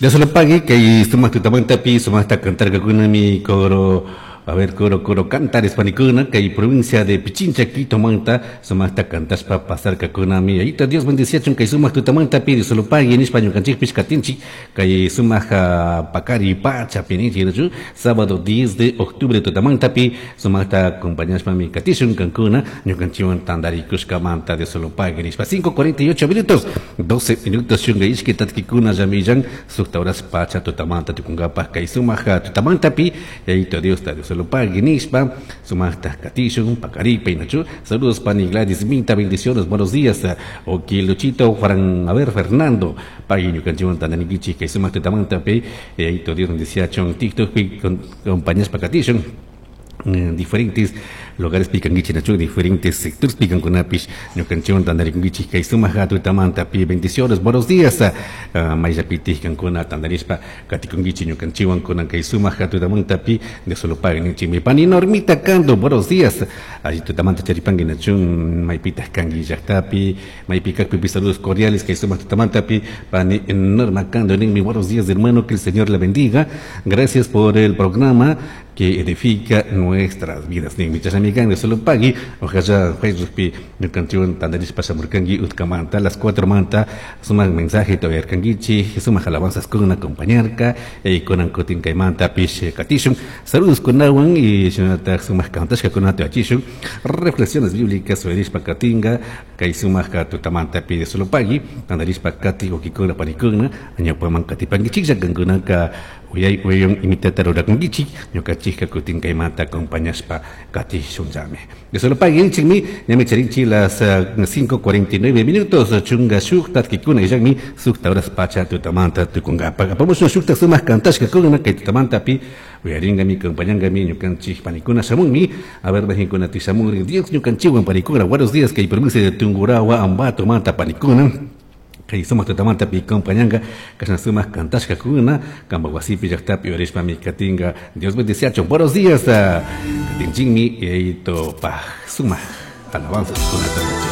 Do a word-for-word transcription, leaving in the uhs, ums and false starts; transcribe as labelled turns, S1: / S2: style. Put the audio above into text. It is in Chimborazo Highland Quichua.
S1: Dios lo pague kay sumaq tutamantapi sumaqta cantarkakunami coro. A ver, coro, coro, cantares panikuna, kay provincia de Pichincha, Quito manta, sumaqta cantashpa pasarkakunami. Ayita Dios bendiciachun kay sumaq tutamantapi, Dios lo pague, nishpa ñukanchikpish katinchik, kay sumaq pakari pacha pininchik, nachu, sábado diez de octubre tutamantapi, sumaqta acompañashpami katishun kankuna, ñukanchikwan tantarikushkamanta, Dios lo pague, nishpa. cinco cuarenta y ocho minutos, doce minutos, chunga ishki tatkikuna llamillan, sukta horas pacha tutamanta tukunkapaj, kay sumaq tutamantapi, ayito Dios, Dios lo pague, nishpa, sumaqta katishun, pakaripa, inachu. Saludos, pani Gladys Minta, bendiciones, buenos días. Ok, Luchito, Juan, a ver, Fernando, pagui ñukanchikwan tantanikichik, kay sumaq tutamantapi, ayito Dios bendiciachun, TikTok, con, compañías pakatishun, en diferentes lugares picanguichi, nachu, diferentes sectores picancunapish, ñukanchikwan tantarikunkichik, kay sumaq tutamantapi, bendiciones, buenos días. Uh, mayllapitij kankuna tantarishpa katikunkichik ñukanchikwan kunan kay sumaq tutamantapi, de solo paguen ninchik. Mi pani Normita Cando, buenos días. Allí tutamanta charipanki, nachu, maypitaj kanki llaqtapi, maypi kakpipi, saludos cordiales, kay sumaq tutamantapi, pani Norma Cando, ninmi, buenos días, hermano, que el Señor la bendiga. Gracias por el programa que edifica nuestras vidas. Ninmi, chashnami kan, de solo pagui, ojalá Facebookpi ñukanchikwan tantarishpa shamurkanki utkamanta, las cuatro manta, sumaq mensaje todavía kankichi, sumaq alabanzas con acompañarka, y kunan kutin kaymanta pish katishun. Saludos kunawan y shinataj sumaq kantashka kunata achishun. Reflexiones bíblicas suerishpa katinga, kay sumaq tutamanta pi de solo pagui, tantarishpa kati okikuna panikuna, añapaman katipankichiklla kankunaka uyay uyun imitata rurakunkichik, ñukanchikka kutin kaymanta acompañashpa katishunllami. De solo pagui ninchikmi, ñami charinchik las uh, cinco cuarenta y nueve minutos, chunga shuk tatkikuna illakmi, sukta horas pacha tutamanta tukunkapa. Apamushun shukta sumaq kantashka kuna kay tutamantapi, uyaringami, acompañangami, ñukanchik panikuna shamunmi, a ver, mexinkuna tishamungri, Dios ñukanchikwan panikuna, buenos días, kay provincia de Tungurahua, Ambato, manta panikuna. Kay sumaq tutamanta pi compañanga, kashna sumaq kantashka kuna, kamba wasipi llaqtapi uyarishpami katinga. Dios bendiciachun. Buenos días, katinchinmi, yayito paj sumaq alabanzas kunata yachashpa.